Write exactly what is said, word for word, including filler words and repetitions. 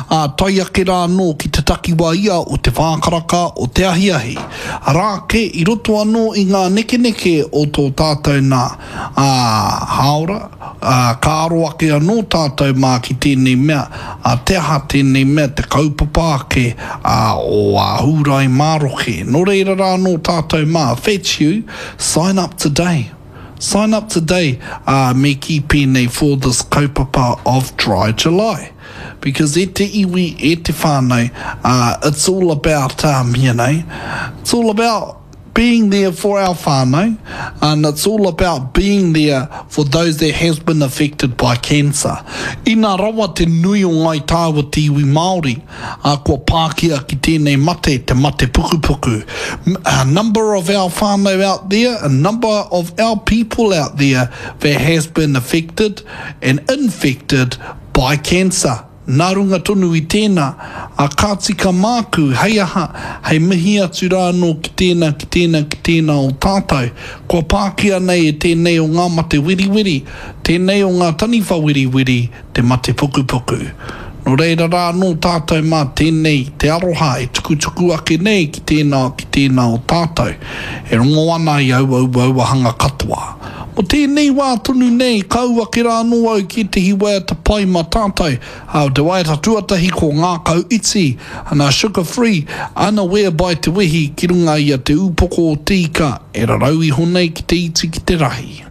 ā, tae ake rā anō ki te takiwā ia o te whā karaka o te ahiahi. Arā ake i roto anō i ngā nekeneke o tō tātou nā, ā, hāora, ā, ka aro ake anō tātou mā ki tēnei mea, ā, te aha tēnei mea te kaupapa ake, ā, o ā Hūrae Maroke. Nō reira rā anō tātou mā, fetch you, sign up today. Sign up today, ā, me kī pēnei for this kaupapa of Dry July. Because e te iwi, e te whānau, ā, it's all about, um, you know, it's all about being there for our whānau, and it's all about being there for those that has been affected by cancer. Ina rawa te nui o ngai tāua te iwi Māori, ā, kua pākia ki tēnei mate, te mate pukupuku. A number of our whānau out there, a number of our people out there that has been affected and infected by cancer. Nā runga tonu i tēnā, ā, ka tika māku, hei aha, hei mihi atu rā anō ki tēnā, ki tēnā, ki tēnā o tātou. Kua pākia nei e tēnei o ngā mate weriweri, tēnei o ngā taniwha weriweri, te mate pukupuku. Nō reira rā anō tātou mā tēnei te aroha e tukutuku ake nei ki tēnā, ki tēnā o tātou. E rongo ana i aua uauahanga katoa. Mō tēnei wā tonu nei, ka ū ake rā anō au ki ētehi waiata pai mā tātou. Ā, te waiata tuatahi ko Ngākau Iti, ana Sugar Free, Unaware by Te Wehi ki runga i a Te Ūpoko o Te Ika e rarau iho nei ki te iti ki te rahi.